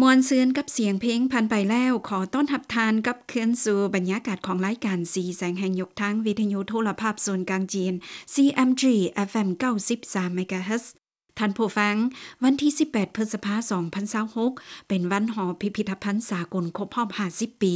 ມ່ວນຊື່ນກັບສຽງເພງຜ່ານໄປແລ້ວ, ຂໍຕ້ອນຮັບທ່ານກັບຄືນສູ່ບັນຍາກາດຂອງລາຍການສີແສງແຫ່ງຍົກທາງ ວິທະຍຸໂທລະພາບສູນກາງຈີນ CMG FM ເກົ້າສິບສາມ MHz. ທ່ານຜູ້ຟັງ, ວັນທີສິບແປດ ພຶດສະພາ ສອງພັນຊາວຫົກ ເປັນວັນຫໍພິພິທະພັນສາກົນຄົບຮອບຫ້າສິບປີ.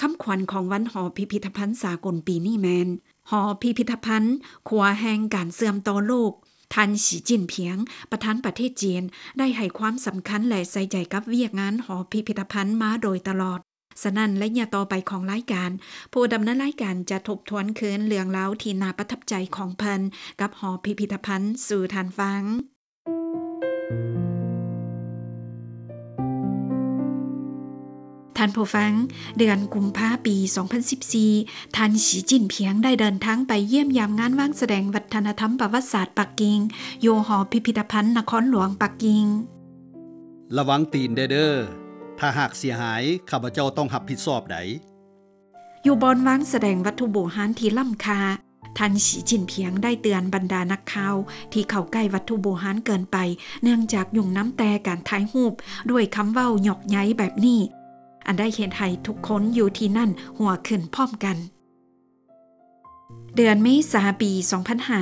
ຄຳຂວັນຂອງວັນຫໍພິພິທະພັນສາກົນປີນີ້ແມ່ນ ຫໍພິພິທະພັນ ຂົວແຫ່ງການເຊື່ອມຕໍ່ໂລກ. ທ່ານ ສີຈິ້ນພຽງ ປະທານປະເທດຈີນ ໄດ້ໃຫ້ຄວາມສຳຄັນ ແລະ ໃສ່ໃຈກັບວຽກງານຫໍພິພິທະພັນມາໂດຍຕະຫຼອດ. ສະນັ້ນ, ໄລຍະຕໍ່ໄປຂອງລາຍການ, ຜູ້ດຳເນີນລາຍການຈະທົບທວນຄືນເລື່ອງລາວທີ່ໜ້າປະທັບໃຈຂອງເພິ່ນກັບຫໍພິພິທະພັນສູ່ທ່ານຟັງ. ທ່ານຜູ້ຟັງ, ເດືອນກຸມພາປີສອງພັນສິບສີ່ ທ່ານ ສີຈິ້ນພຽງ ໄດ້ເດີນທາງໄປຢ້ຽມຢາມງານວາງສະແດງວັດທະນະທຳປະຫວັດສາດປັກກິ່ງ ຢູ່ຫໍພິພິທະພັນນະຄອນຫຼວງປັກກິ່ງ. ລະວັງຕີນແດ່ເດີ, ຖ້າຫາກເສຍຫາຍ, ຂ້າພະເຈົ້າຕ້ອງຮັບຜິດຊອບໃດ. ຢູ່ບ່ອນວາງສະແດງວັດຖຸບູຮານທີ່ລ້ຳຄ່າ, ທ່ານ ສີຈິ້ນພຽງ ໄດ້ເຕືອນບັນດານັກຂ່າວທີ່ເຂົ້າໃກ້ວັດຖຸບູຮານເກີນໄປ ເນື່ອງຈາກຫຍຸ້ງນຳແຕ່ການຖ່າຍຮູບ ດ້ວຍຄຳເວົ້າຫຍອກໃຍແບບນີ້ ອັນໄດ້ເຮັດໃຫ້ທຸກຄົນຢູ່ທີ່ນັ້ນຫົວຂຶ້ນພ້ອມກັນ. ເດືອນເມສາປີສອງພັນຫ້າ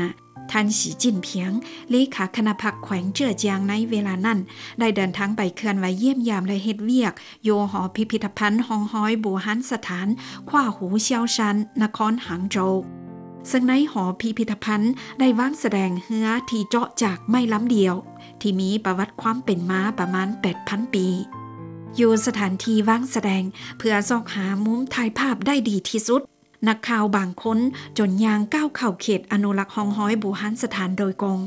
ທ່ານ ສີຈິ້ນພຽງ ເລຂາຄະນະພັກແຂວງເຈີ້ອຈຽງໃນເວລານັ້ນ ໄດ້ເດີນທາງໄປເຄື່ອນໄຫວຢ້ຽມຢາມ ແລະ ເຮັດວຽກ ຢູ່ຫໍພິພິທະພັນຮ່ອງຮອຍບູຮານສະຖານ ຂວ້າຫູຊຽວຊານ ນະຄອນຫາງໂຈວ. ເຊິ່ງໃນຫໍພິພິທະພັນໄດ້ວາງສະແດງເຮືອທີ່ເຈາະຈາກໄມ້ລຳດຽວ ທີ່ມີປະຫວັດຄວາມເປັນມາປະມານແປດພັນປີ ຢູ່ສະຖານທີ່ວາງສະແດງ ເພື່ອຊອກຫາມຸມຖ່າຍພາບໄດ້ດີທີ່ສຸດ. ນັກຂ່າວບາງຄົນຈົນຍ່າງກ້າວເຂົ້າເຂດອະນຸລັກຮ່ອງຮອຍບູຮານສະຖານໂດຍກົງ.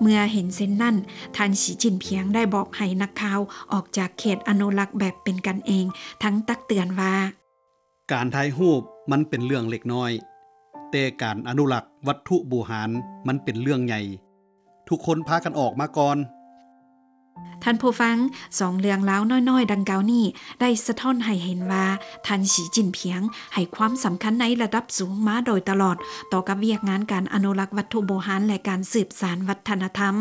ເມື່ອເຫັນເຊັ່ນນັ້ນ, ທ່ານ ສີຈິ້ນພຽງ ໄດ້ບອກໃຫ້ນັກຂ່າວອອກຈາກເຂດອະນຸລັກແບບເປັນກັນເອງ, ທັງຕັກເຕືອນວ່າ, ການຖ່າຍຮູບມັນເປັນເລື່ອງເລັກນ້ອຍ, ແຕ່ການອະນຸລັກວັດຖຸບູຮານມັນເປັນເລື່ອງໃຫຍ່. ທຸກຄົນພາກັນອອກມາກ່ອນ. ທ່ານຜູ້ຟັງ, ສອງເລື່ອງລາວນ້ອຍໆດັ່ງກ່າວນີ້ ໄດ້ສະທ້ອນໃຫ້ເຫັນວ່າ ທ່ານ ສີຈິ້ນພຽງ ໃຫ້ຄວາມສຳຄັນໃນລະດັບສູງມາໂດຍຕະຫຼອດ ຕໍ່ກັບວຽກງານການອະນຸລັກວັດຖຸບູຮານ ແລະ ການສືບສານວັດທະນະທຳ.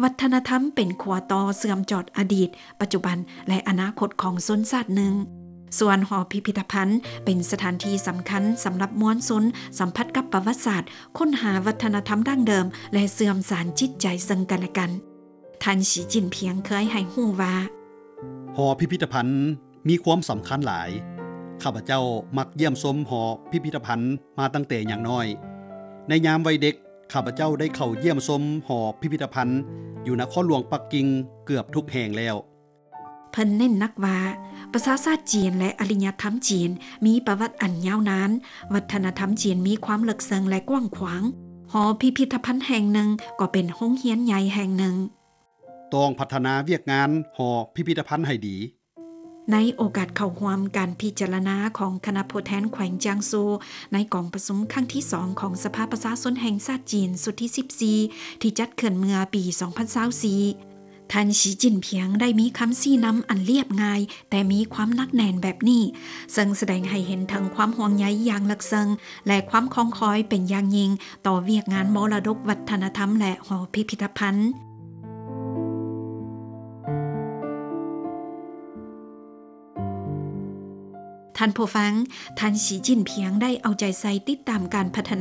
ວັດທະນະທຳເປັນຂົວຕໍ່ເຊື່ອມຈອດອະດີດ, ປັດຈຸບັນ ແລະ ອະນາຄົດຂອງຊົນຊາດໜຶ່ງ. ສ່ວນຫໍພິພິທະພັນເປັນສະຖານທີ່ສຳຄັນສຳລັບມວນຊົນສຳຜັດກັບປະຫວັດສາດ, ຄົ້ນຫາວັດທະນະທຳດັ້ງເດີມ ແລະ ເຊື່ອມສານຈິດໃຈເຊິ່ງກັນແລະກັນ. ທ່ານ ສີຈິ້ນພຽງ ເຄີຍໃຫ້ຮູ້ວ່າ, ຫໍພິພິທະພັນມີຄວາມສຳຄັນຫຼາຍ. ຂ້າພະເຈົ້າມັກຢ້ຽມຊົມຫໍພິພິທະພັນມາຕັ້ງແຕ່ຍັງນ້ອຍ. ໃນຍາມວັຍເດັກ, ຂ້າພະເຈົ້າໄດ້ເຂົ້າຢ້ຽມຊົມຫໍພິພິທະພັນຢູ່ນະຄອນຫຼວງປັກກິ່ງເກືອບທຸກແຫ່ງແລ້ວ. ເພິ່ນເນັ້ນໜັກວ່າ ປະຊາຊາດຈີນ ແລະ ອາລິຍະທຳຈີນມີປະຫວັດອັນຍາວນານ, ວັດທະນະທຳຈີນມີຄວາມເລິກເຊິ່ງ ແລະ ກວ້າງຂວາງ. ຫໍພິພິທະພັນແຫ່ງໜຶ່ງກໍເປັນໂຮງຮຽນໃຫຍ່ແຫ່ງໜຶ່ງ. ຕ້ອງພັດທະນາວຽກງານຫໍພິພິທະພັນໃຫ້ດີ. ໃນໂອກາດເຂົ້າຮ່ວມການພິຈາລະນາຂອງຄະນະຜູ້ແທນແຂວງຈຽງຊູ ໃນກອງປະຊຸມຄັ້ງທີສອງຂອງສະພາປະຊາຊົນແຫ່ງຊາດຈີນຊຸດທີສິບສີ່ ທີ່ຈັດຂຶ້ນເມື່ອປີສອງພັນຊາວສີ່ ທ່ານ ສີຈິ້ນພຽງ ໄດ້ມີຄຳຊີ້ນຳອັນລຽບງ່າຍ ແຕ່ມີຄວາມໜັກແໜ້ນແບບນີ້, ເຊິ່ງສະແດງໃຫ້ເຫັນເຖິງຄວາມຫ່ວງໃຍຢ່າງເລິກເຊິ່ງ ແລະ ຄວາມຄອງຄອຍເປັນຢ່າງຍິ່ງຕໍ່ວຽກງານມໍລະດົກວັດທະນະທຳ ແລະ ຫໍພິພິທະພັນ. ທ່ານຜູ້ຟັງ, ທ່ານ ສີຈິ້ນພຽງ ໄດ້ເອົາໃຈໃສ່ຕິດຕາມການພັດທະນາ